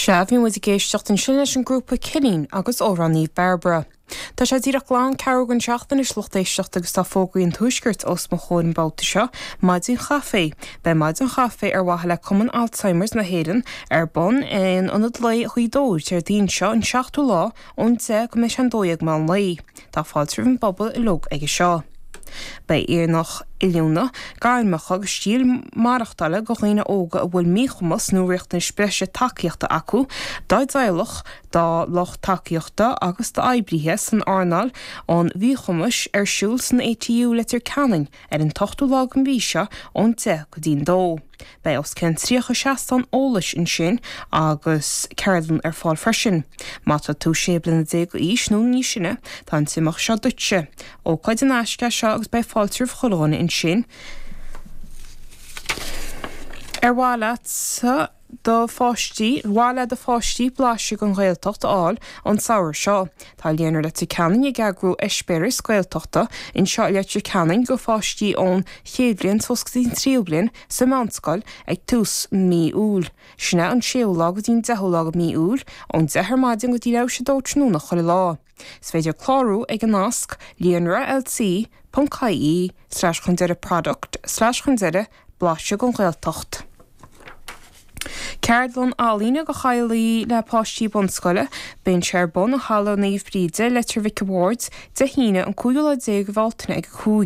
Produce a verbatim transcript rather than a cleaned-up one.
Sea, bhí muid ag éisteacht ansin leis an grúpa Cillín agus amhrán Naomh Bairbre. Tá sé díreach glan ceathrú don seacht anois lucht éisteachta agus tá fógraí an tuaiscirt os mo chomhair an babhta seo, maidin chaife. Beidh maidin chaife ar mhaithe le Cumann Alzheimer's na hÉireann ar bun in Ionad Lae Ghaoth Dobhair Déardaoin seo an seachtú lá ón deich go mbeidh sé an dó dhéag meán lae. Tá fáilte roimh an bpobal uilig aige seo. Beidh aonach oiliúna gairmeacha agus stíl maireachtála do dhaoine óga a bhfuil míchumas nó riachtanais breise tacaíochta acu, dá dteaghlach, dá lucht tacaíochta agus d'oibrithe san earnáil an mhíchumais ar siúl san ATU Leitir Ceanainn ar an t-ochtú lá den mhí seo ón deich go dtí an dó. Beidh os cionn tríocha seastán eolais ansin agus ceardlann ar fáil freisin. Má tá tú sé bliana déag d'aois nó níos sine, tá an t-imeacht seo duitse. Ócáid in aisce seo agus beidh fáilte roimh chuile dhuine ansin. Ar mhaith leat do pháistí, mhaith le do pháistí blaiseadh den Ghaeltacht a fháil an samhradh seo. Tá Líonra Leitir Ceanainn ag eagrú eispéireas Gaeltachta anseo i Leitir Ceanainn do pháistí ón chéad bhliain suas go dtí an tríú bliain sa mheánscoil ag tús mí Iúil. Sin é an séú lá go dtí an deichiú lá de mí Iúil, ón deich ar maidin go dtí leathuair tar éis a dó tráthnóna chuile lá. Is féidir clárú ag an nasc líonra LC ponc IE slash chun deireadh product slash chun deireadh blaiseadh den Ghaeltacht. Ceardlann ealaíne do theaghlaigh le páistí bunscoile, bíonn sé ar bun i Halla Naomh Bríde Leitir Mhic a' Bhaird Dé hAoine an cúigiú lá déag de Bhealtaine ag a cúig.